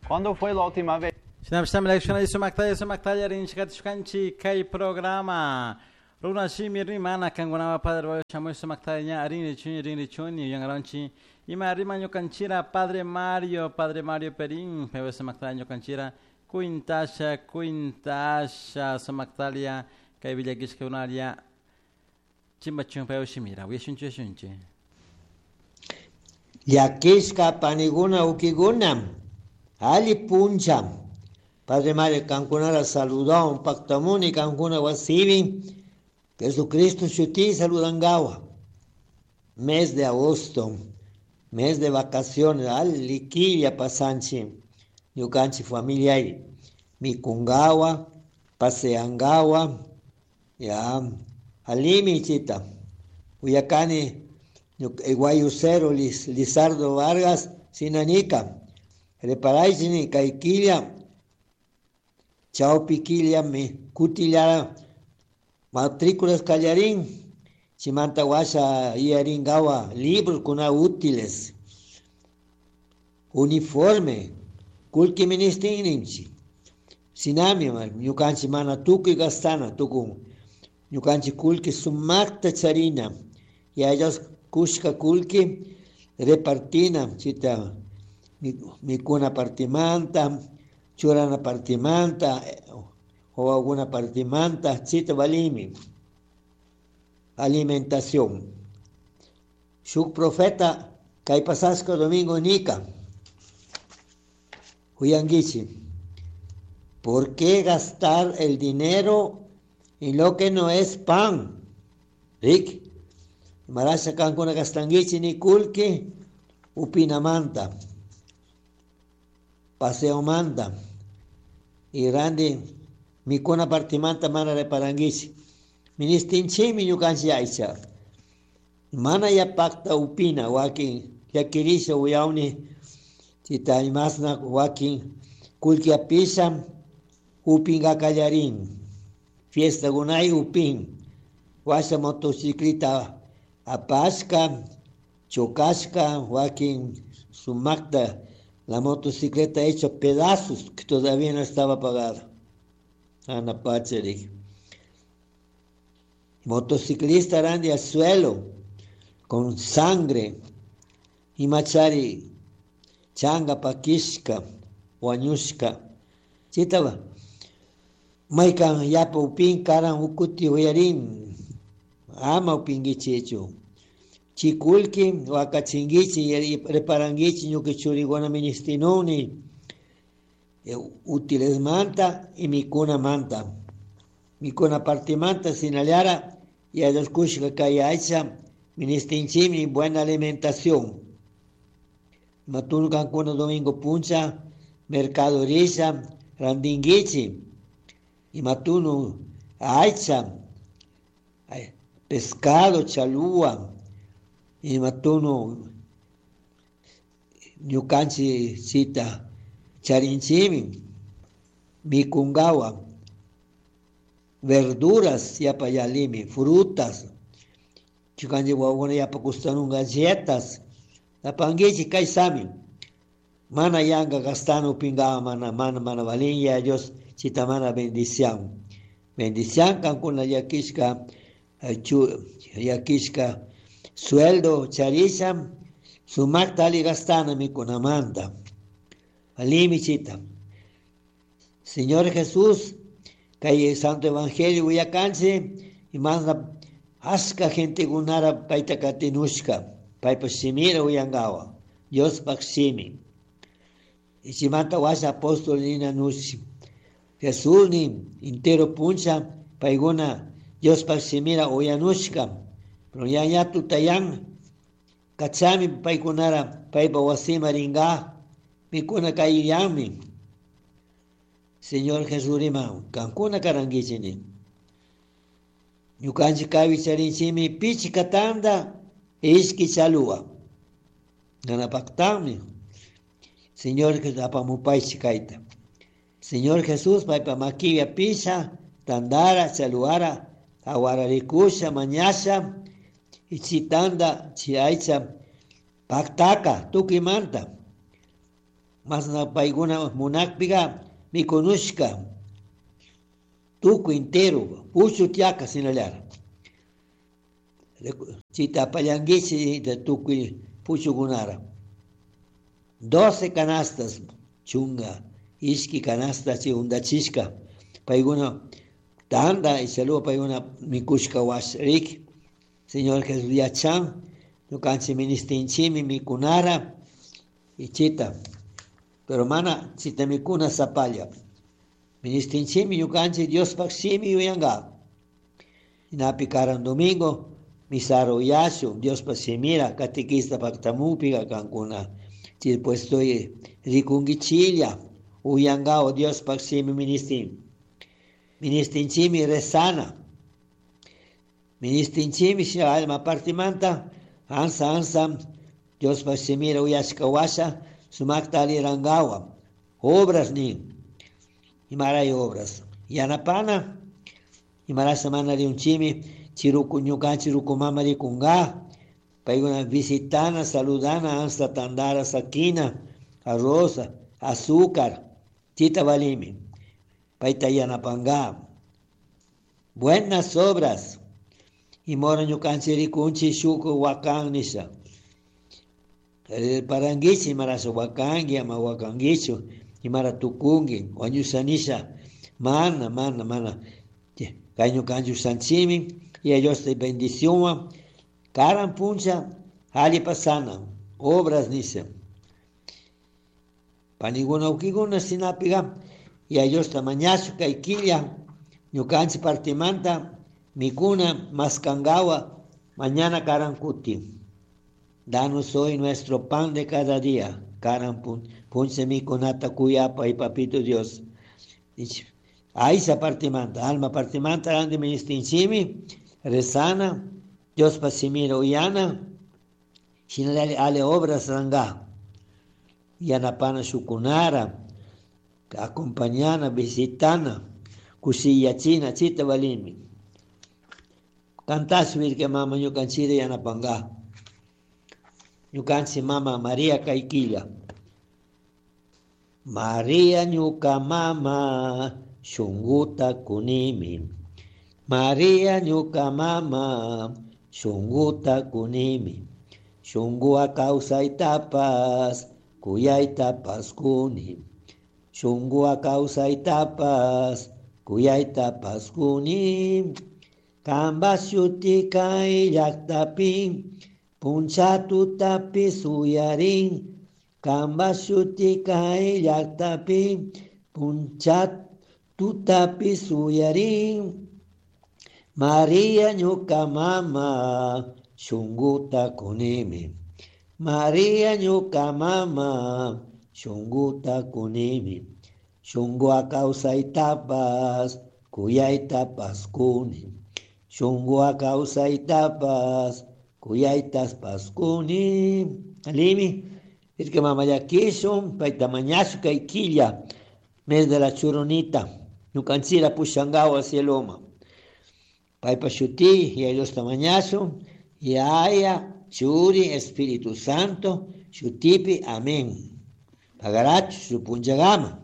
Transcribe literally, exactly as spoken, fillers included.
¿Cuándo fue la última vez Shinapishami sumaktalla sumaktalla rinchikatishkanchik kay programa Runa shimi rimana kankunapa Padre shamuy sumaktalla ña rinrichuni rinrichuni yangaranchi ima rima ñukanchira Padre Mario Padre Mario Perín paypa sumaktalla ñukanchira kuintasha kuintasha sumaktalla kay villakishkakunalla chimbachun paypa shimira uyashunchi uyashunchi. Llakishka paniguna ukiguna alli puncha Padre Mario kankunara saludawan paktamuni kankuna wasibi Jesucristo shuti saludangawa. Mes de agosto, mes de vacaciones, alli quilla pasanchi ñukanchik familia mikungawa, paseangawa, ya alimi chita. Uyakani guayusero Lizardo Vargas sinanika reparaychini kay killa chawpi killa mi kutillara matrículas kallarin chimanta washa iyaringawa libros kuna útiles uniforme kullki ministinninchik shinami ñukanchik mana tukuy gastana tukun ñukanchik kullki sumakta charina yaya kushka kullki repartina chita mikuna partimanta churana partimanta wawakuna partimanta chita valimi alimentación. Shuk profeta kay pasashka domingo nika uyankichik ¿por qué gastar el dinero en lo que no es pan? Rick, marasha kankuna gastankichik ni kullki upinamanta paseomanta y randi mikuna partimanta mana reparankichik ministinchikmi ñukanchik aycha mana yapakta upina wakin llakirisha uyawni chita imasna wakin kullki apisha upinga kallarin fiestakunay upin washa motocicleta apashka chocashka wakin sumakta la motocicleta hecha pedazos que todavía no estaba pagada. Ana Pacherik. Motociclista randi al suelo con sangre y machari changa pakishka wañushka chitaba maykan yapa upin karan ukuti uyarin ama upinkichichu chikulki wakachinkichi reparankichi ñuka churikuna ministinuni útiles manta y mikuna manta mikuna partimanta sinallara y kushka kay aycha ministinchikmi buena alimentación matunu kankuna domingo puncha mercado risha randinkichik imatunu aycha pescado chalua imatunu ñukanchik chita charinchikmi mikungawa verduras yapa yalimi frutas ñukanchik wawakuna yapa gustanun galletas apankichik kay sami mana yanka gastana upingawa mana mana mana valin ya Dios chita mana bendición bendición kankuna llakishka llakishka sueldo charisha sumakta alli gastana mikunamanta alimi chita. Señor Jesús kay Santo Evangelio uyakanchik imasna ashka gentekunara payta katinushka paypa shimira uyangawa Diospaj shimi chimanta washa apóstol nina nushi Jesús ni entero puncha paykuna Diospaj shimira uyanushka pero ña ña tutayan kachami paykunara paypa wasima ringa mikuna kayyanmi Señor Jesús rima kankuna karankichik ni ñukanchik kaypi charinchikmi pichka tanta ishki chalua nanapaktanmi Señor Jesús apamupaychik kayta Señor Jesús paypa makipi apisha tandara chaluara awararikusha mañasha y chitanda chi aycha paktaka tukuymanta. Masna paykuna munakpiga mikunushka tukuy entero puchu tiaka sinallara. Chita apallanguichi de tukuy puchukunara. Doce canastas chunga ishki canasta chi undachishka paykuna tanda y saludo paykuna mikushka wasrik. Señor Jesús yachan ñukanchik ministinchimi mikunara y chita. Pero mana chita mikuna sapalla. Ministinchimi ñukanchik Diospaj shimi yuyanga. Inapi karan domingo misaro uyashu Diospaj shimira catequista paktamupiga kankuna. Chay puesto rikunkichilla uyangao Diospaj shimi ministin. Ministinchimi rezana. Ministinchimi alma partimanta ansa ansa Diospaj shimira uyashka washa sumakta alirangawa. Obras nin. Imaray obras. Yanapana. Imarasa mana riunchimi chiruku ñukanchik ruku mama rikunga. Paykuna visitana, saludana, ansa tandara, sakina, arroz, azúcar, chita valimi. Payta yanapanga. Buenas obras. Imora ñukanchik rikunchik shuku wakan nisha. Paranguichi imarasa wakanki ama wakankichu imara tukunki wañusha nisha mana mana mana kay ñukanchik ushanchimi y ellos te bendición karan puncha alli pasana obras nisha paniguna ukiguna sinapiga y ellos ta mañashu kay killa ñukanchik partimanta mikuna maskangawa mañana karan kuti. Danos hoy nuestro pan de cada día. Karan puncha mikunata kuyapa y papito Dios. Aisa partimanta, alma partimanta, grande ministinchimi, rezana, Dios pasimira uyana, shinalali ale obras ranga, yanapana shukunara, acompañana, visitana, kusiyachina, chita valimi. Cantashu virke mama ñukanchira yanapanga. Ñukanchik mama María Kaikilla. María ñuka mama shunguta kunimi. María ñuka mama shunguta kunimi. Shunguwa kawsaytapas kuyaytapas kuni. Shunguwa kawsaytapas kuyaytapas kuni. Kamba shuti kay llaqtapi puncha tutapi suyarin. Kamba shuti kay llaqtapi puncha tutapi suyarin. María ñuka mama shunguta kunimi. María ñuka mama shunguta kunimi. Shunguwa kawsaytapas kuyaytapas kuni. Shunguwa kawsaytapas kuyaytapas kuni. Alimi, irke mama llakishun payta mañashu kay killa mes de la churunita ñukanchira pushangawa cieloma. Paypa shuti y Diosta mañashun Yaya, Churi, Espíritu Santo, shutipi, amén. Pagarachu, supunchagama.